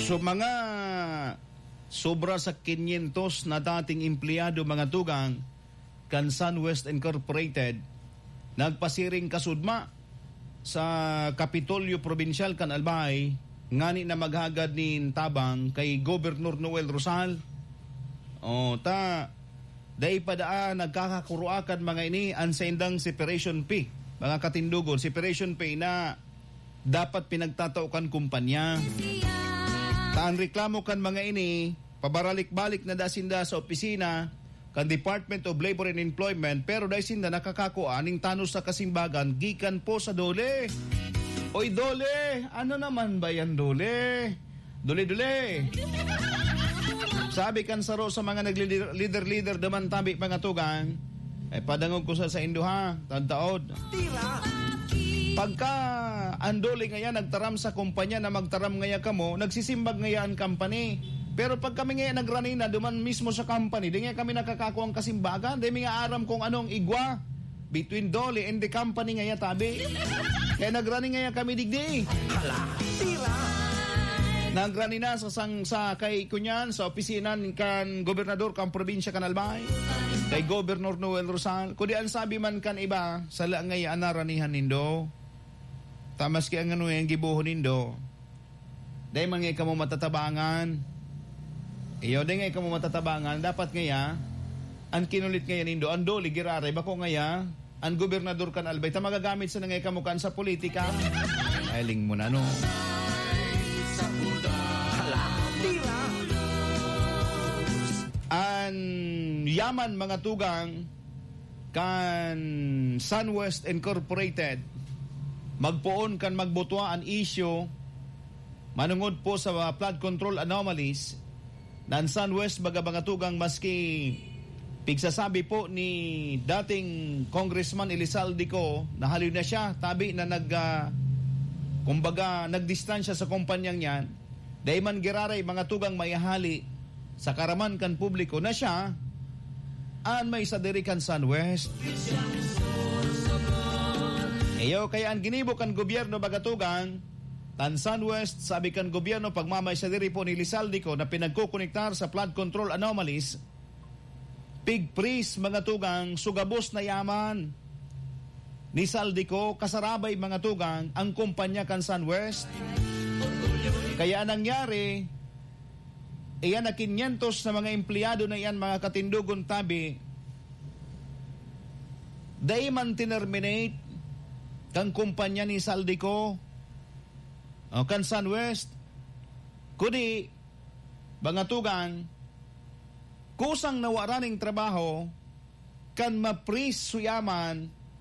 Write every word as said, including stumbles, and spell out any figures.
So, mga sobra sa kinyentos na dating empleyado, mga tugang, kan Sunwest Incorporated, nagpasiring kasudma sa Kapitolyo Probinsyal kan Albay, ngani na maghagad nin tabang kay Gobernador Noel Rosal. O, ta, dai pa daa nagkakakuroakan mga ini an saindang separation pay, mga katindogon, separation pay na dapat pinagtatao kan kumpanya. Ta an reklamo kan mga ini, pabaralik-balik na da sinda sa opisina kan Department of Labor and Employment, pero dai sinda nakakakua nin tanos sa kasimbagan gikan po sa DOLE. Oy, DOLE! Ano naman ba yan, DOLE? DOLE-DOLE! Sabi kan saro sa mga naglider-lider duman tabi, mga tugang, ay padangog ko sa saindo, ha, tadtaod. Tira! Pagka ang DOLE ngaya nagtaram sa kumpanya na magtaram ngaya kamo, nagsisimbag ngaya an company. Pero pag kami ngaya nagrani na duman mismo sa company, di ngaya kami nakakakuang kasimbagan, di mi nga aram kung anong igwa between DOLE and the company ngaya, tabi. Kaya nagrani ngaya kami digdi. Hala, tira! Nagrani na sa sang-, sa kay kunyan, sa opisina kan gobernador kan probinsya kan Albay, kay Gobernador Noel Rosal. Kundi ang sabi man kan iba, sala ngaya an naranihan nindo. Ta maski ang ano, ang gibohon nindo, dai man ngaya kamo matatabangan. Iyo, dai ngaya kamo matatabangan. Dapat ngaya, an kinulit ngaya nindo, an DOLE giraray, bako ngaya, an gobernador kan Albay, ta magagamit sana ngaya kamo kan sa politika. Ay, ling mo na, no? Hala, tira! An yaman, mga tugang, kan Sunwest Incorporated, magpoon kan magbutwa an isyu manungod po sa flood control anomalies na an Sunwest, baga, mga tugang, maski pigsasabi po ni dating Congressman Elizalde Co na haloy na siya, tabi na nag, ah, kumbaga, nagdistansya sa kumpanyang yan, dai man giraray, mga tugang, maihali sa karaman kan publiko na siya an may sadiri kan Sunwest. Iyo, kaya an ginibo kan gobyerno, baga, tugang, tan Sunwest, sabi kan gobyerno, pagmamay sadiri po ni Elizalde Co na pinagkokonektar sa flood control anomalies, pig-freeze, mga tugang, so gabos na yaman ni Zaldy Co, kasarabay, mga tugang, ang kumpanya kan Sunwest. Kaya nangyari, iyan na kinyentos na mga empleyado na iyan, mga katindogon, tabi, dai man tinerminate kan kumpanya ni Zaldy Co o kan Sunwest, kundi, mga tugang, kusang nawara ning trabaho kan ma-freeze so yaman